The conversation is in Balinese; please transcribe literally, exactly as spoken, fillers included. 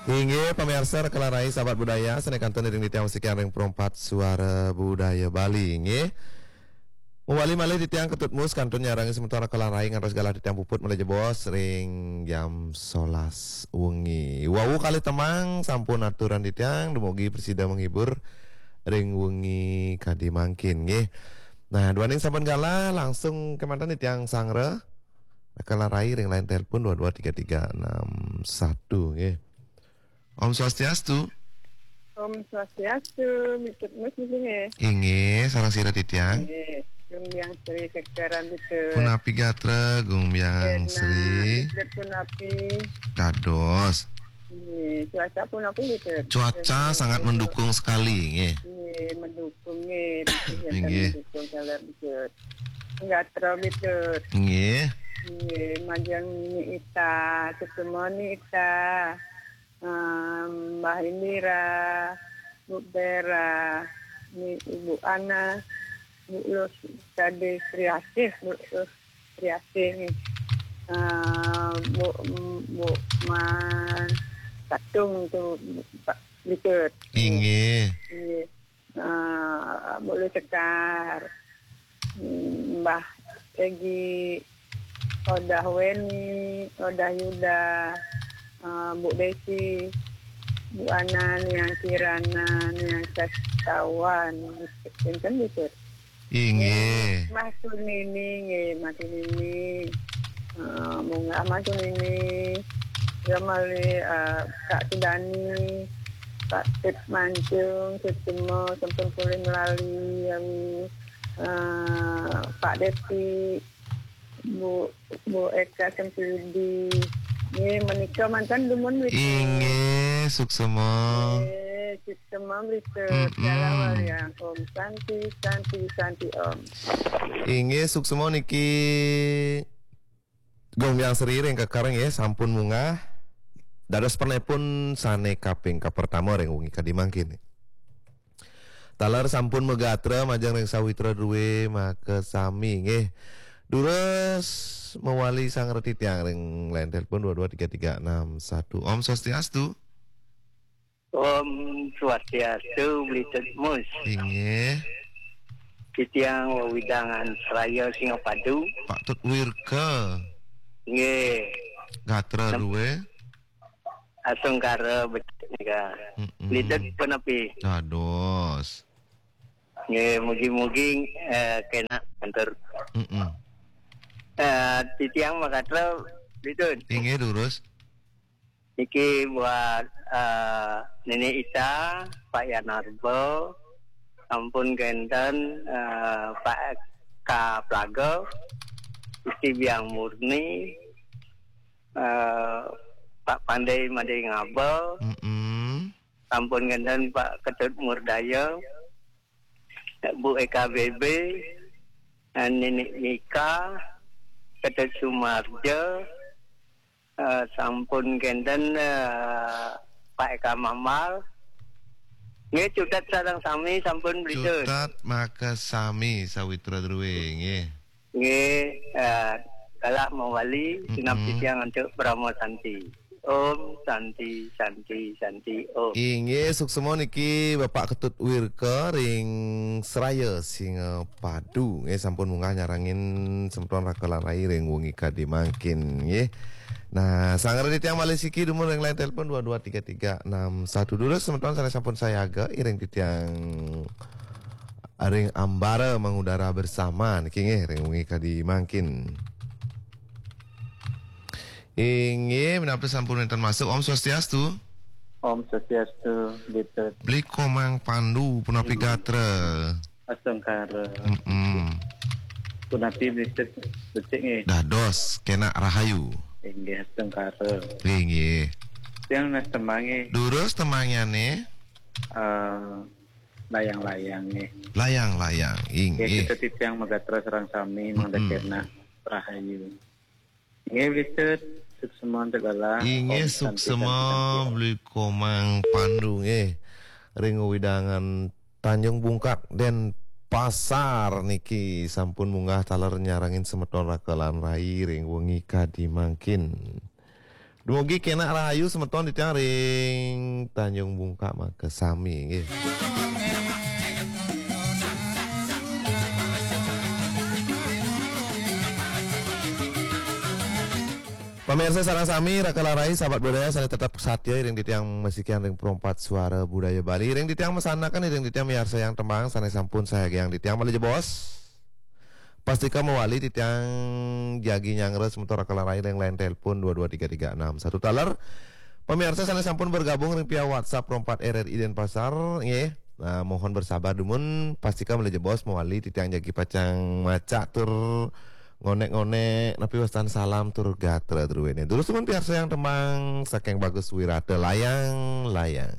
Inggih, pamiarsa Rekelan Rai, sahabat budaya, sané kantun iring titiang wasikan ring Perempat Suara Budaya Bali, inggih. Mawali malih titiang Ketut Mus kantun nyarengin semeton Rekelan Rai ngantos galah titiang puput malih jebos ring jam solas wengi. Wau kalih tembang sampun aturan titiang, dumugi prasida menghibur ring wengi kadi mangkin, nggih. Nah, duaning sampun galah, langsung kémanten titiang sanggra Rekelan Rai ring line telepon dua dua tiga tiga enam satu, nggih. Om Swastiastu. Om Swastiastu, Bli Tut Mus niki nggih. Inggih, sareng sira titiang? Nggih, Gung Biang Sri Sekeran Bli Tut. Punapi gatra, Gung Biang Sri? Bli Tut punapi? Dados. Nggih, cuaca punapi Bli Tut? Cuaca sangat mendukung sekali, nggih. Nggih, mendukung nggih. Inggih. Mendukung kalau Bli Tut. Gatra Bli Tut. Nggih. Nggih, majeng Ni Ita, Suksma Ni Ita. Em, Mbah Indira, Bu Bera, Ni Ibu Ana, Bu Lus Kade Sriasih, Bu Lus Sriasih. Em, Bu, Bu Man Katung tu, Pak Bli Tut. Inggih. Inggih. Ah, Bu Lus Sekar, Mbah Egi, Odah Weni, Odah Yuda, ah, Bu Desi, Bu Ana, Niang Kirana, Niang Sastawan. Pinten, Bli Tut? Inggih. Mas Sunini, nggih, Mas Sunini. Ah, munggah Mas Sunini. Ya malih, ah, Kak Sudani, Pak Tut Mancung, Sutuma, sampun polih melali, ya, ah, Pak Desi, Bu, Bu Eka Sempidi. Nggih, menika manten dumun Bli Tut. Inggih, suksma. Nggih, suksma Bli Tut. Mm-mm. Dalam walian. Om Santi, Santi, Santi Om. Inggih, suksma niki Gung Biang Sri ring Keker nggih, sampun munggah. Dados penelpon sané kaping kapertama ring wengi kadi mangkin. Taler sampun magatra majeng ring Sawitra Druwé makasami nggih. Durus mawali sanggra titiang ring line telepon dua dua tiga tiga enam satu. Om Swastiastu. Om Swastiastu, Bli Tut Mus. Inggih. Titiang wewidangan Seraya Singapadu. Pak Tut Wirka. Nggih. Gatra Druwé. Astungkara becik nika. Mm-mm. Bli Tut punapi? Dados. Nggih, mugi-mugi, eh, kénak matur. Mm-mm. Eh, titiang magatra Bli Tut. Inggih, durus. Niki buat, eh, Nini Ita, Pak Yanarba, sampun kénten, eh, Pak Eka Plaga, Gusti Biang Murni, eh, Pak Pandai Madé Ngaba, mm-mm, sampun kénten Pak Ketut Murdaya, Bu Eka B B, eh, Nini Mika, Ketut Sumarja, eh, sampun kénten, eh, Pak Eka Mambal. Nggih, cutet sareng sami sampun Bli Tut. Cutet makasami Sawitra Druwé, nggih. Nggih, eh, galah mawali, mm-mm, sinambi titiang antuk Parama Santi. Om Santi, Santi, Santi, Om. Inggih, suksma niki Bapak Ketut Wirka ring Seraya Singapadu. Nggih, sampun munggah nyarengin semeton Rekelan Rai ring wengi kadi mangkin, nggih. Nah, sanggra titiang malih siki dumun ring line telepon dua dua tiga tiga enam satu. Durus semeton sané sampun sayaga iring titiang ring ambara mangudara bersama niki nggih ring wengi kadi mangkin. Inggih, menawi sampun wénten masuk. Om Swastiastu. Om Swastiastu, Bli Tut. Bli Komang Pandu, punapi, mm-mm, gatra? Astungkara. Mm-mm. Punapi Bli Tut becik nggih? Dados, kénak rahayu. Inggih, astungkara. Inggih. Tiang nunas tembang nggih. Durus tembangnyané? Eh, layang-layang nggih. Layang-layang, nggih, inggih. Kita titiang magatra sareng sami, mangda, mm-mm, kénak rahayu. Nggih, Bli Tut, suksma antuk galah. Inggih, om santi, suksma santi, santi. Bli Komang Pandu nggih. Ring wewidangan Tanjung Bungkak, Denpasar niki sampun munggah taler nyarengin semeton Rekelan Rai ring wengi kadi mangkin. Dumugi kena rahayu semeton titiang ring Tanjung Bungka maka sami nggih. Pamirsa sareng sami, Raka Larai, sahabat budaya sané tetep satia ring titiang masikian ring Perompat Suara Budaya Bali, ring titiang masanakan, ring titiang miarsayang tembang sané sampun sayagiang titiang malih jebos. Pastika mawali titiang jagi nyanggra semeton Raka Larai ring line telepon dua dua tiga tiga enam satu taler. Pamirsa sané sampun bergabung ring via WhatsApp Perompat R R I Denpasar, nggih. Nah, mohon bersabar dumun, pastika malih jebos mawali titiang jagi pacang maca tur ngonek-ngonek napi wastan salam tur gatra druéné. Durus dumun piarsayang tembang saking Bagus Wirata, Layang-layang.